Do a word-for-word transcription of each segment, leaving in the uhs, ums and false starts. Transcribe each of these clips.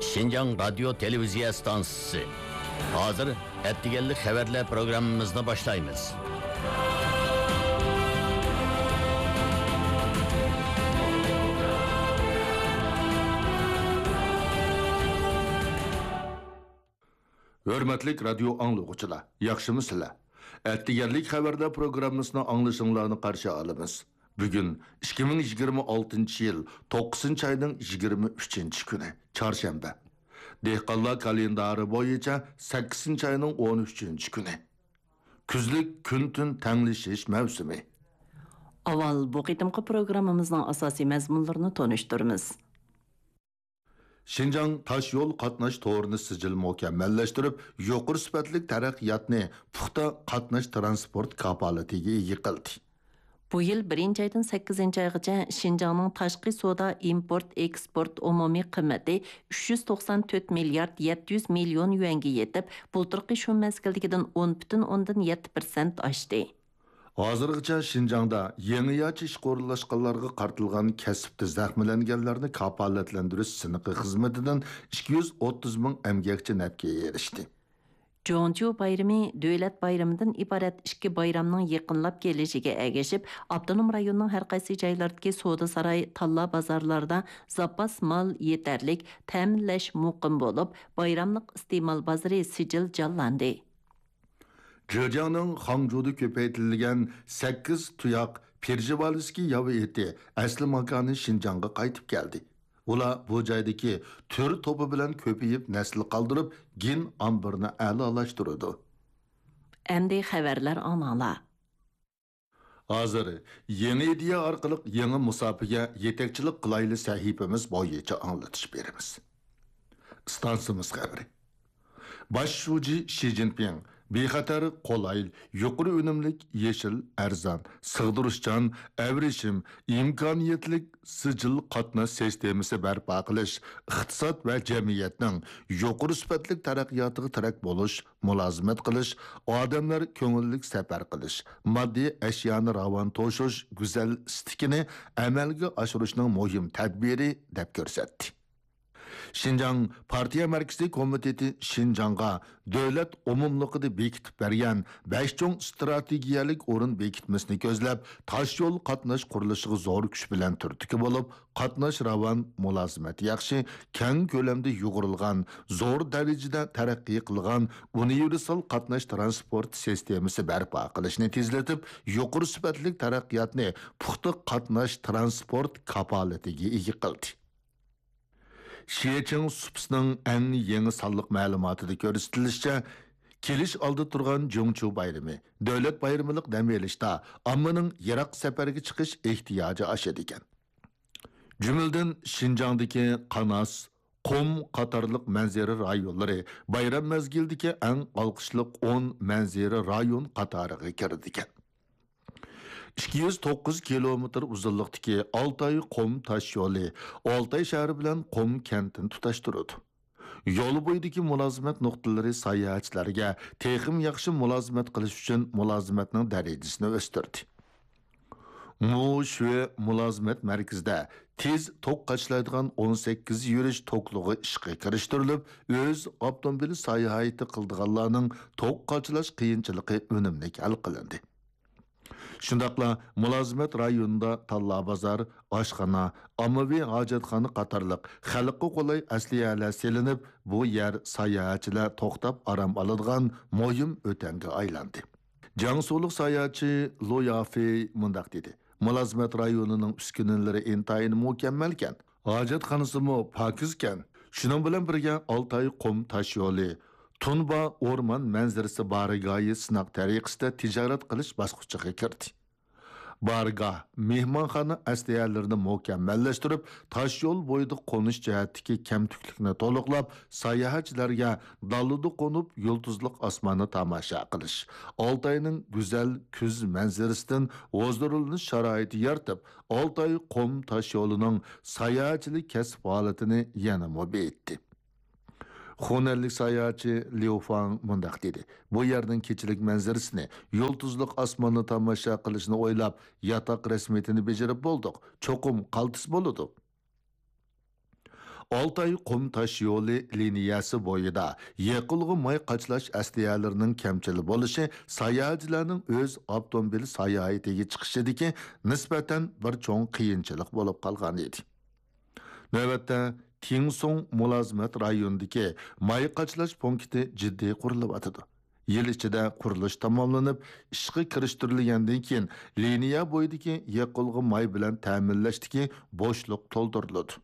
شىنجاڭ رادىيو تېلېۋىزىيە ئىستانسىسى. ھازىر ئەتىگەنلىك خەۋەرلەر پروگراممىمىزنى باشلايمىز. ھۆرمەتلىك رادىيو ئاڭلىغۇچىلار، ياخشىمۇسىلەر؟ ئەتىگەنلىك خەۋەرلەر پروگراممىسىنى ئاڭلىشىڭلارنى قارشى ئالىمىز. بۈگۈن ئىككى مىڭ يىگىرمە ئالتىنچى يىل توققۇزىنچى ئاينىڭ يىگىرمە ئۈچىنچى كۈنى، چارشەنبە. دېھقانلار كالېندارى بويىچە سەككىزىنچى ئاينىڭ ئون ئۈچىنچى كۈنى. كۈزلۈك كۈن-تۈن تەڭلىشىش مەۋسۇمى. ئاۋۋال بۇ قېتىمقى پروگراممىمىزنىڭ ئاساسىي مەزمۇنلىرىنى تونۇشتۇرىمىز. شىنجاڭ تاش يول قاتناش تورىنى سىجىل مۇكەممەللەشتۈرۈپ، يۇقىرى سۈپەتلىك تەرەققىياتنى پۇختا قاتناش تىرانسپورت كاپالىتىگە ئىگە قىلدى. بۇ يىل بىرىنچى ئايدىن سەككىزىنچى ئايغىچە شىنجاڭنىڭ تاشقى سودا، ئىمپورت، ئېكسپورت ئومۇمىي قىممىتى ئۈچ يۈز توقسان تۆت مىليارد يەتتە يۈز مىليون يۈەنگە يېتىپ، بۇلتۇرقى شۇ مەزگىلدىكىدىن ئون پۈتۈن ئوندىن يەتتە پىرسەنت ئاشتى. ھازىرغىچە شىنجاڭدا يېڭىچە ئىشقا ئورۇنلاشقانلارغا قارىتىلغان كەسىپتە زەخىملەنگەنلەرنى كاپالەتلەندۈرۈش سىنىقى خىزمىتىدىن ئىككى يۈز ئوتتۇز مىڭ ئەمگەكچى نەپكە ئېرىشتى. جۇڭچيۇ بايرىمى دۆلەت بايرىمىدىن ئىبارەت ئىككى بايرامنىڭ يېقىنلاپ كېلىشىگە ئەگىشىپ، ئاپتونوم رايوننىڭ ھەر قايسى جايلىرىدىكى سودا ساراي، تاللا بازارلاردا زاپاس مال يېتەرلىك، تەمىنلەش مۇقىم بولۇپ، بايراملىق ئىستېمال بازىرى سىجىل جانلاندى. جېجياڭنىڭ خاڭجۇدا كۆپەيتىلگەن سەككىز تۇياق پېرژېۋالىسكىي ياۋا ئېتى ئەسلى ماكانى شىنجاڭغا قايتىپ كەلدى. ئۇلار بۇ جايدىكى تۈر توپى بىلەن كۆپىيىپ نەسىل قالدۇرۇپ، گېن ئامبىرىنى ئەلالاشتۇرىدۇ. ئەمدى خەۋەرلەر ئاڭلاڭلار. ھازىر يېڭى ئىدىيە ئارقىلىق يېڭى مۇساپىگە يېتەكچىلىك قىلايلى سەھىپىمىز بويىچە ئاڭلىتىش بېرىمىز. ئىستانسىمىز خەۋىرى. باش شۇجى شى جىنپىڭ بىخەتەر، قولايلىق، يۇقىرى ئۈنۈملۈك، يېشىل، ئەرزان، سىغدۇرۇشچان، ئەۋرىشىم، ئىمكانىيەتلىك سىجىل قاتناش سىستېمىسى بەرپا قىلىش، ئىقتىساد ۋە جەمئىيەتنىڭ يۇقىرى سۈپەتلىك تەرەققىياتىغا تىرەك بولۇش، مۇلازىمەت قىلىش، ئادەملەر كۆڭۈللۈك سەپەر قىلىش، ماددىي ئەشيانى راۋان توشۇش گۈزەل ئىستىكىنى ئەمەلگە ئاشۇرۇشنىڭ مۇھىم تەدبىرى، دەپ كۆرسەتتى. شىنجاڭ پارتىيە مەركىزىي كومىتېتى شىنجاڭغا دۆلەت ئومۇملۇقىدا بېكىتىپ بەرگەن بەش چوڭ ئىستراتېگىيەلىك ئورۇن بېكىتمىسىنى كۆزلەپ، تاشيول قاتناش قۇرۇلۇشىغا زور كۈچ بىلەن تۈرتكە بولۇپ، قاتناش راۋان، مۇلازىمەت ياخشى، كەڭ كۆلەمدە يۇغۇرۇلغان، زور دەرىجىدە تەرەققىي قىلغان ئۇنىۋېرسال قاتناش تىرانسپورت سىستېمىسى بەرپا قىلىشنى تېزلىتىپ، يۇقىرى سۈپەتلىك تەرەققىياتنى پۇختا قاتناش تىرانسپورت كاپالىتىگە ئىگە قىلدى. شيېچىڭ سۇپىسىنىڭ ئەڭ يېڭى سانلىق مەلۇماتىدا كۆرسىتىلىشىچە، كېلىش ئالدىدا تۇرغان جۇڭچيۇ بايرىمى، دۆلەت بايرىمىلىق دەم ئېلىشتا ئاممىنىڭ يىراق سەپەرگە چىقىش ئېھتىياجى ئاشىدىكەن. جۈملىدىن شىنجاڭدىكى قاناس، قۇم قاتارلىق مەنزىرە رايونلىرى بايرام مەزگىلىدىكى ئەڭ ئالقىشلىق ئون مەنزىرە رايون قاتارىغا كىرىدىكەن. ئىككى يۈز توققۇز كىلومېتىر ئۇزۇنلۇقتىكى ئالتاي قۇم تاشيولى ئالتاي شەھىرى بىلەن قۇم كەنتىنى تۇتاشتۇرىدۇ. يول بويىدىكى مۇلازىمەت نۇقتىلىرى ساياھەتچىلەرگە تېخىمۇ ياخشى مۇلازىمەت قىلىش ئۈچۈن مۇلازىمەتنىڭ دەرىجىسىنى ئۆستۈردى. مۇ شۈې مۇلازىمەت مەركىزىدە تېز توك قاچىلايدىغان ئون سەككىز يۈرۈش توكلۇقى ئىشقا كىرىشتۈرۈلۈپ، ئۆز ئاپتوموبىل ساياھىتى قىلىدىغانلارنىڭ توك قاچىلاش قىيىنچىلىقى ئۈنۈملۈك ھەل قىلىندى. شۇنداقلا مۇلازىمەت رايونىدا تاللا بازار، ئاشخانا، ئاممىۋى ھاجەتخانا قاتارلىق خەلققە قولاي ئەسلىھەلەر سېلىنىپ، بۇ يەر ساياھەتچىلەر توختاپ ئارام ئالىدىغان مۇھىم ئۆتەمگە ئايلاندى. جياڭسۇلۇق ساياھەتچى لۇ يافېي مۇنداق دېدى: مۇلازىمەت رايونىنىڭ ئۈسكۈنىلىرى ئىنتايىن مۇكەممەلكەن، ھاجەتخانىسىمۇ پاكىزكەن. شۇنىڭ بىلەن بىرگە، ئالتاي قۇم تاشيولى تۇنبا ئورمان مەنزىرىسى بارگاھى سىناق تەرىقىسىدە تىجارەت قىلىش باسقۇچىغا كىردى. بارگاھ، مېھمانخانا ئەسلىھەلىرىنى مۇكەممەللەشتۈرۈپ، تاشيول بويىدا قونۇش جەھەتتىكى كەمتۈكلۈكنى تولۇقلاپ، ساياھەتچىلەرگە دالىدا قونۇپ يۇلتۇزلۇق ئاسماننى تاماشا قىلىش، ئالتاينىڭ گۈزەل كۈز مەنزىرىسىدىن ھۇزۇرلىنىش شارائىتى يارىتىپ، ئالتاي قۇم تاشيولىنىڭ ساياھەتچىلىك كەسىپ ھالىتىنى يەنىمۇ بېيىتتى. خۇنەنلىك ساياھەتچى ليۇ فاڭ مۇنداق دېدى: بۇ يەرنىڭ كېچىلىك مەنزىرىسىنى، يۇلتۇزلۇق ئاسماننى تاماشا قىلىشنى ئويلاپ، ياتاق رەسمىيىتىنى بېجىرىپ بولدۇق. چوقۇم قالتىس بولىدۇ. ئالتاي قۇم تاشيولى لىنىيەسى بويىدا يېقىلغۇ ماي قاچىلاش ئەسلىھەلىرىنىڭ كەمچىل بولۇشى ساياھەتچىلەرنىڭ ئۆز ئاپتوموبىل ساياھىتىگە چىقىشىدىكى نىسبەتەن بىر چوڭ قىيىنچىلىق بولۇپ قالغان ئىدى. نۆۋەتتە، تىڭسۇڭ مۇلازىمەت رايونىدىكى ماي قاچىلاش پونكىتى جىددىي قۇرۇلۇۋاتىدۇ. يىل ئىچىدە قۇرۇلۇش تاماملىنىپ، ئىشقا كىرىشتۈرۈلگەندىن كېيىن، لىنىيە بويىدىكى يېقىلغۇ ماي بىلەن تەمىنلەشتىكى بوشلۇق تولدۇرۇلىدۇ.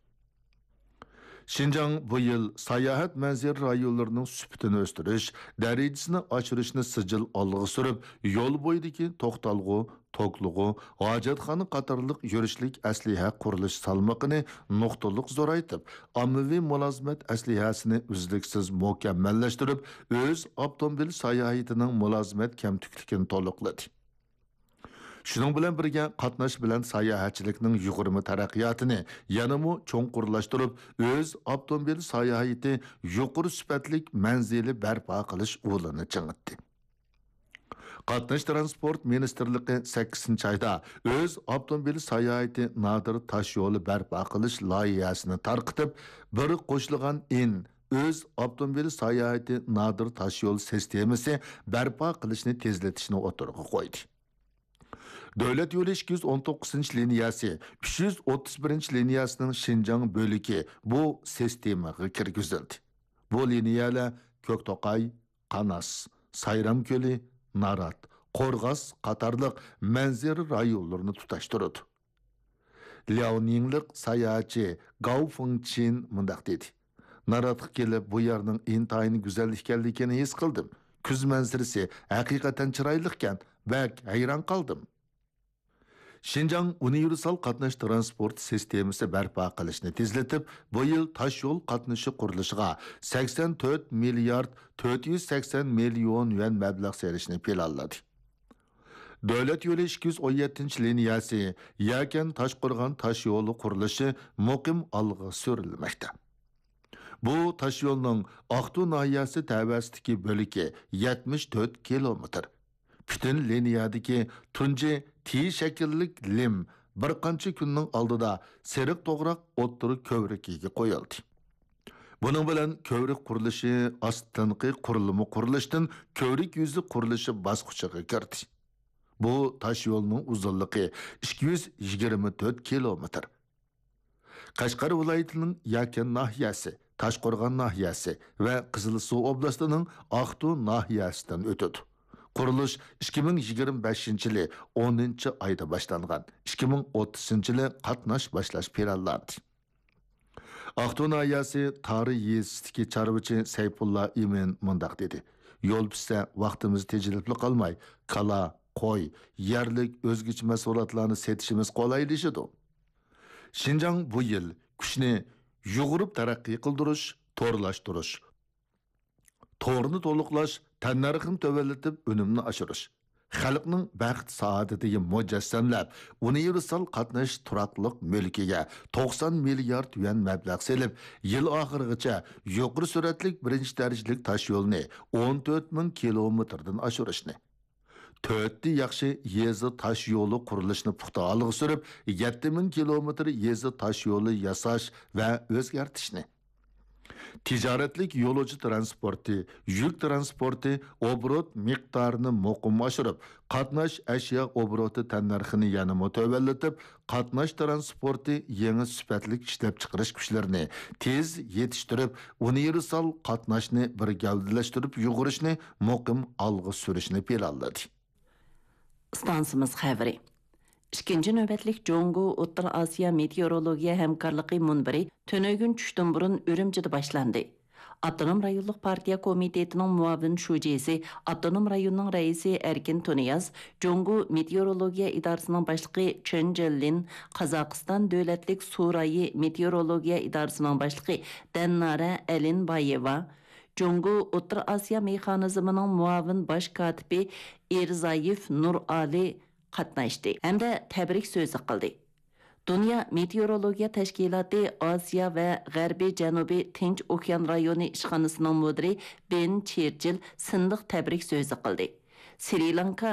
شىنجاڭ بۇ يىل ساياھەت مەنزىرە رايونلىرىنىڭ سۈپىتىنى ئۆستۈرۈش، دەرىجىسىنى ئاشۇرۇشنى سىجىل ئالغا سۈرۈپ، يول بويىدىكى توختالغۇ، توكلىغۇ، ھاجەتخانا قاتارلىق يۈرۈشلۈك ئەسلىھە قۇرۇلۇش سالمىقىنى نۇقتىلىق زورايتىپ، ئاممىۋى مۇلازىمەت ئەسلىھەسىنى ئۈزلۈكسىز مۇكەممەللەشتۈرۈپ، ئۆز ئاپتوموبىل ساياھىتىنىڭ مۇلازىمەت كەمتۈكلۈكىنى تولۇقلىدى. شۇنىڭ بىلەن بىرگە، قاتناش بىلەن ساياھەتچىلىكنىڭ يۇغۇرما تەرەققىياتىنى يەنىمۇ چوڭقۇرلاشتۇرۇپ، ئۆز ئاپتوموبىل ساياھىتى يۇقىرى سۈپەتلىك مەنزىلى بەرپا قىلىش ئۇلىنى چىڭىتتى. قاتناش تىرانسپورت مىنىستىرلىقى سەككىزىنچى ئايدا ئۆز ئاپتوموبىل ساياھىتى نادىر تاشيولى بەرپا قىلىش لايىھەسىنى تارقىتىپ، بىر قوشۇلغان ئىن ئۆز ئاپتوموبىل ساياھىتى نادىر تاشيول سىستېمىسى بەرپا قىلىشنى تېزلىتىشنى ئوتتۇرىغا قويدى. دۆلەت يولى ئىككى يۈز ئون توققۇزىنچى لىنىيەسى، ئۈچ يۈز ئوتتۇز بىرىنچى لىنىيەسىنىڭ شىنجاڭ بۆلىكى بۇ سىستېمىغا كىرگۈزۈلدى. بۇ لىنىيەلەر كۆكتوقاي، قاناس، سايرام كۆلى، نارات، قورغاس قاتارلىق مەنزىرە رايونلىرىنى تۇتاشتۇرىدۇ. لياۋنىڭلىق ساياھەتچى گاۋ فېڭچىن مۇنداق دېدى: ناراتقا كېلىپ، بۇ يەرنىڭ ئىنتايىن گۈزەل ئىكەنلىكىنى ھېس قىلدىم. كۈز مەنزىرىسى ھەقىقەتەن چىرايلىقكەن، بەك ھەيران قالدىم. شىنجاڭ ئۇنىۋېرسال قاتناش تىرانسپورت سىستېمىسى بەرپا قىلىشنى تېزلىتىپ، بۇ يىل تاشيول قاتنىشى قۇرۇلۇشىغا سەكسەن تۆت مىليارد تۆت يۈز سەكسەن مىليون يۈەن مەبلەغ سېلىشنى پىلانلىدى. دۆلەت يولى ئىككى يۈز ئون يەتتىنچى لىنىيەسى يەكەن تاشقورغان تاشيولى قۇرۇلۇشى مۇقىم ئالغا سۈرۈلمەكتە. بۇ تاشيولنىڭ ئاقتۇ ناھىيەسى تەۋەسىدىكى بۆلىكى يەتمىش تۆت كىلومېتىر. پۈتۈن لىنىيەدىكى تۇنجى تى شەكىللىك لىم بىر قانچە كۈننىڭ ئالدىدا سېرىق توغراق ئوتتۇرا كۆۋرۈكىگە قويۇلدى. بۇنىڭ بىلەن كۆۋرۈك قۇرۇلۇشى ئاستىنقى قۇرۇلما قۇرۇلۇشتىن كۆۋرۈك يۈزى قۇرۇلۇشى باسقۇچىغا كىردى. بۇ تاشيولنىڭ ئۇزۇنلۇقى ئىككى يۈز يىگىرمە تۆت كىلومېتىر. قەشقەر ۋىلايىتىنىڭ يەكەن ناھىيەسى، تاشقورغان ناھىيەسى ۋە قىزىلسۇ ئوبلاستىنىڭ ئاقتۇ ناھىيەسىدىن ئۆتىدۇ. قۇرۇلۇش ئىككى مىڭ يىگىرمە بەشىنچى يىلى ئونىنچى ئايدا باشلانغان، ئىككى مىڭ ئوتتۇزىنچى يىلى قاتناش باشلاش پىلانلاندى. ئاقتۇ ناھىيەسى تارى يېزىسىدىكى چارۋىچى سەيپۇللا ئىمىن مۇنداق دېدى: يول پۈتسە، ۋاقتىمىز تېجىلىپلا قالماي، كالا، قوي، يەرلىك ئۆزگىچە مەھسۇلاتلارنى سېتىشىمىز قولايلىشىدۇ. شىنجاڭ بۇ يىل كۈچنى يۇغۇرۇپ تەرەققىي قىلدۇرۇش، تورلاشتۇرۇش، تورنى تولۇقلاش، تەننەرخنى تۆۋەنلىتىپ ئۈنۈمنى ئاشۇرۇش، خەلقنىڭ بەخت سائادىتىگە مۇجەسسەملەپ، ئۇنىۋېرسال قاتنىشىش تۇراقلىق مۈلكىگە توقسان مىليارد يۈەن مەبلەغ سېلىپ، يىل ئاخىرىغىچە يۇقىرى سۈرئەتلىك بىرىنچى دەرىجىلىك تاشيولنى ئون تۆت مىڭ كىلومېتىردىن ئاشۇرۇشنى، تۆتتە ياخشى يېزا تاش يولى قۇرۇلۇشىنى پۇختا ئالغا سۈرۈپ، يەتتە مىڭ كىلومېتىر يېزا تاش يولى ياساش ۋە ئۆزگەرتىشنى، تىجارەتلىك يولۇچى تىرانسپورتى، يۈك تىرانسپورتى، ئوبوروت مىقدارىنى مۇقىم ئاشۇرۇپ، قاتناش ئەشيا ئوبوروتى تەننەرخىنى يەنىمۇ تۆۋەنلىتىپ، قاتناش تىرانسپورتى يېڭى سۈپەتلىك ئىشلەپچىقىرىش كۈچلىرىنى تېز يېتىشتۈرۈپ، ئۇنىۋېرسال قاتناشنى بىر گەۋدىلەشتۈرۈپ يۇغۇرۇشنى مۇقىم ئالغا سۈرۈشنى پىلانلىدى. ئىستانسىمىز خەۋىرى. ئىككىنچى نۆۋەتلىك جۇڭگو ئوتتۇرا ئاسىيا مېتېئورولوگىيە ھەمكارلىقى مۇنبىرى تۈنۈگۈن چۈشتىن بۇرۇن ئۈرۈمچىدە باشلاندى. ئاپتونوم رايونلۇق پارتىيە كومىتېتىنىڭ مۇئاۋىن شۇجىسى، ئاپتونوم رايوننىڭ رەئىسى ئەركىن تۇنىياز، جۇڭگو مېتېئورولوگىيە ئىدارىسىنىڭ باشلىقى چېن جېنلىن، قازاقىستان دۆلەتلىك سۇ رايى مېتېئورولوگىيە ئىدارىسىنىڭ باشلىقى دەننارە ئەلىنبايېۋا، جۇڭگو ئوتتۇرا ئاسىيا مېخانىزمىنىڭ مۇئاۋىن باش كاتىپى ئىرزايېف نۇرئالى قاتناشتى ھەمدە تەبرىك سۆزى قىلدى. دۇنيا مېتېئورولوگىيە تەشكىلاتى ئاسىيا ۋە غەربىي جەنۇبىي تىنچ ئوكيان رايونى ئىشخانىسىنىڭ مۇدىرى بېن چېرچىل سىندىق تەبرىك سۆزى قىلدى. سرى لانكا